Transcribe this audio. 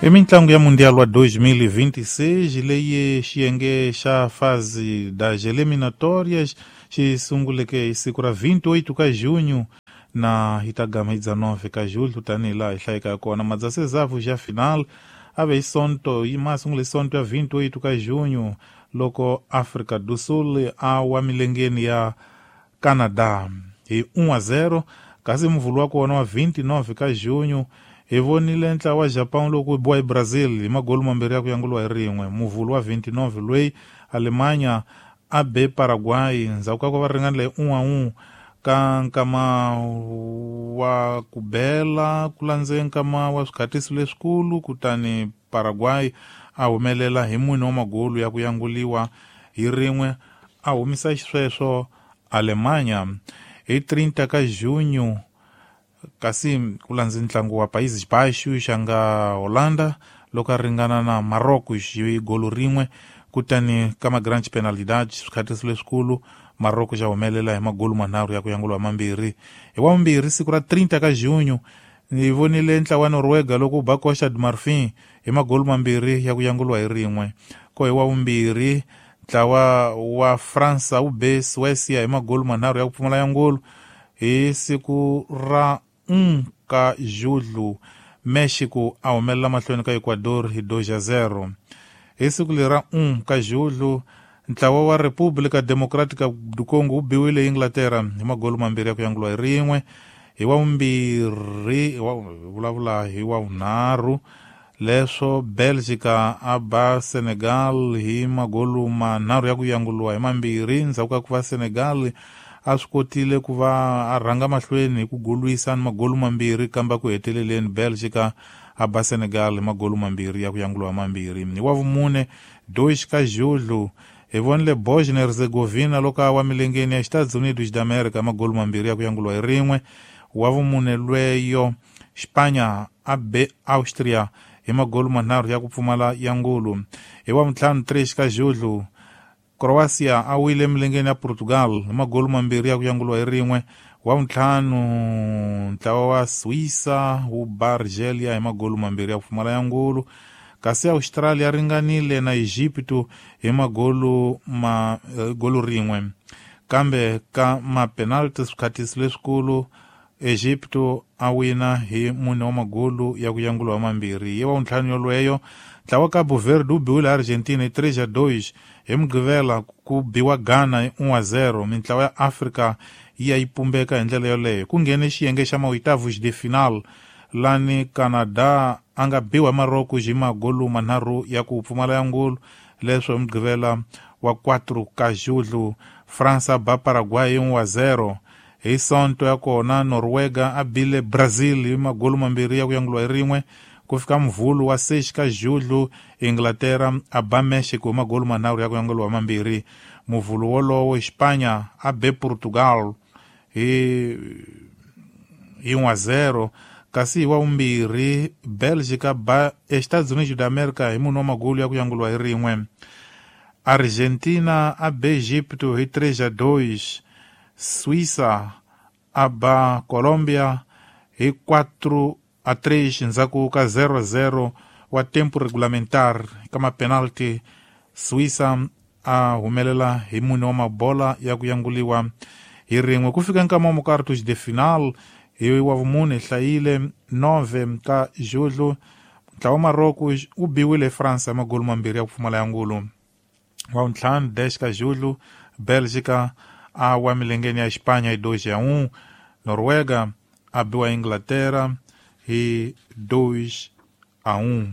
I mitlangu ya Mundial wa 2026 leyi xiyenge xa fase das eliminatórias xi sunguleke hi siku ra 28 ka junho na yi ta gama hi 19 ka julho, tanihi laha hi hlayeka kona. Madzasezavu xa final a ve hi Sonto, yi ma sungule Sonto ya 28 ka junho loko Africa do Sul a wa milengeni ya Canada hi 1-0, kasi muvhulu wa kona wa 29 ka junho hi vonile ntlawa wa Japan loko wu biwa hi Brazil hi magolu mambirhi ya ku yanguliwa hi rin'we. Muvhulu wa 29 loyi Alemanha a be Paraguay ndzhaku ka ku va ringanile hi 1-1 ka nkama wa ku bela, ku landze nkama wa swikhatiso leswikulu, kutani Paraguay a humelela hi mune wa magolu ya ku yanguliwa hi rin'we, a humisa xisweswo Alemanha. Hi 30 ka junho kasi ku landze ntlangu wa Países Baixos xa nga Holanda loko a ringana na Marrocos hi golo rin'we, kutani ka ma grandes penalidades, swikhatiso leswikulu, Marrocos xa humelela hi magolu manharhu ya ku yanguliwa mambirhi. Hi wa vumbirhi siku ra 30 ka junho ni vonile ntlawa wa Noruega loko wu ba Costa de Marfin hi magolu mambirhi ya ku yanguliwa hi rin'we. Ko hi wa vumbirhi ntlawa wa Fransa wu be Suecia hi magolu manharhu ya ku pfumala yangulu. Hi siku ra 1 ka julho Mexico a humelela mahlweni ka Ecuador hi 2-0. Hi siku leri ra 1 ka julho ntlawa wa República Democrática do Congo wu biwile Inglaterra hi magolu mambirhi ya ku yanguliwa hi rin'we. Hi wa vumbirhi vulavula hi wa vunharhu leswo Belgica a ba Senegal hi magolu manharhu ya ku yanguliwa hi mambirhi, ndzhaku ka ku va Senegal a swi kotile ku va a rhanga mahlweni hi ku golwisa ni magolu mambirhi, kambe ku heteleleni Belgica a ba Senegal hi magolu mambirhi ya ku yanguliwa mambirhi. Hi wa vumune 2 ka julho hi vonile Bosnia Herzegovina loko a wa milengeni ya Estados Unidos da America magolu mambirhi ya ku yanguliwa hi rin'we. Wa vumune lweyo Spanya a be Austria hi magolu manharhu ya ku pfumala yangulu. Hi wa vuntlhanu 3 ka julho Croatia a wile milengeni ya Portugal hi magolu mambirhi ya ku yanguliwa hi rin'we. Wa vuntlhanu ntlawa wa Suíça wu ba Argelia hi magolu mambirhi ya ku pfumala yangulu, kasi Australia ringanile na Egipto hi magolu ma golu rin'we, kambe ka ma penalty swikhatiso leswikulu Egipto a wina hi mune wa magolu ya ku yanguliwa mambirhi. Hi wa vuntlhanu yolweyo ntlawa Cabo Verde wu biwile Argentina hi 3-2. Hi Mugqivela ku biwa Ghana hi 1-0. Mintlawa ya Afrika yi ya yi pumbeka hi ndlela yoleyo. Ku nghene xiyenge xa maoitavos de final lani Canada a nga biwa hi Marocco hi magolu manharhu ya ku pfumala yangulu. Leswo hi Mugqivela wa 4 ka julho Fransa ba Paraguay hi 1-0. Hi Sonto ya kona Noruega a bile Brazil hi magolu mambirhi ya ku yanguliwa hi rin'we. Ku fika muvhulu wa 6 ka julho Inglaterra a ba Mexico hi magolu manharhu ya ku yanguliwa mambirhi. Muvhulu wolowo Espanya a be Portugal hi 1-0, kasi hi wa vumbirhi Belgica ba Estados Unidos da America hi mune wa magolu ya ku yanguliwa hi rin'we. Argentina a be Egipto hi 3-2. Suíça a ba Colombia hi 4-3 ndzhaku ka 0-0 wa tempo regulamentar ka mapenalty. Suíça a humelela hi mune wa mabola ya ku yanguliwa hi rin'we. Ku fika nkama wa mukartos de final hi wa vumune hlayile 9 ka julho ntlawa wa Marocco wu biwile hi France hi magolu mambirhi ya ku pfumala yangulu. Wa vuntlhanu 10 ka julho Belgica a wa milengeni ya Espanha hi 2-1. Noruega a biwa Inglaterra hi 2-1.